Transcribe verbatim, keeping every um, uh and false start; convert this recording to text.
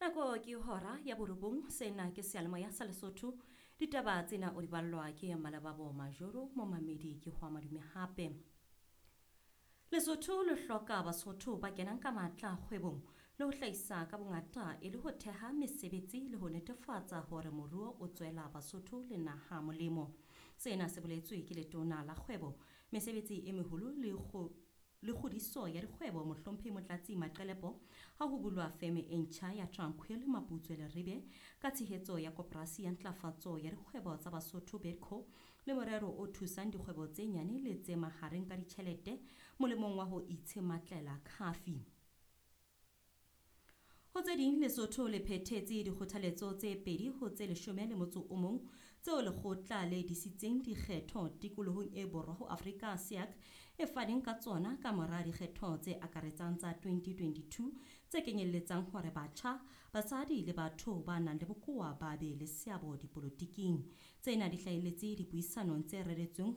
Nako ke hora ya borobong. Sena ke seyalemoya sa Lesotho. Ditaba tsena o di ballwa ke Malababo Majoro. Momamedi, ke ho madume hape. Lesotho le hloka Basotho ba kenang ka matla kgwebong le ho hlahisa ka bongata e le ho theha mesebetsi le ho netefatsa hore moruo o tswela Basotho le naha molemo. Sena se boletswe ke letona la kgwebo, mesebetsi e meholo le le kgodiso ya dikgwebo, Mohlomphehi Motlatsi Maqelepo, ha ho bulwa feme e ntjha ya Tranquil Maputswe Leribe ka tshehetso ya Koporasi ya Ntlafatso ya Dikgwebo tsa Basotho, BEDCO, le morero o thusang dikgwebo tse nyane le tse mahareng ka ditjhelete molemong wa ho itshematlela khafi. Ho tse ding, Lesotho le phethetse dikgothaletso tse pedi ho tse leshome le motso o mong tseo lekgotla le disitseng dikgetho tikolohong e borwa ho Afrika, SIAC, e faneng ka tsona ka mora dikgetho tse akaretsang tsa twenty twenty-two tse kenyelletsang hore batjha, basadi le batho ba nang le bokowa ba be le seabo dipolotiking. Tsena di hlahelletse dipuisanong tse reretsweng ho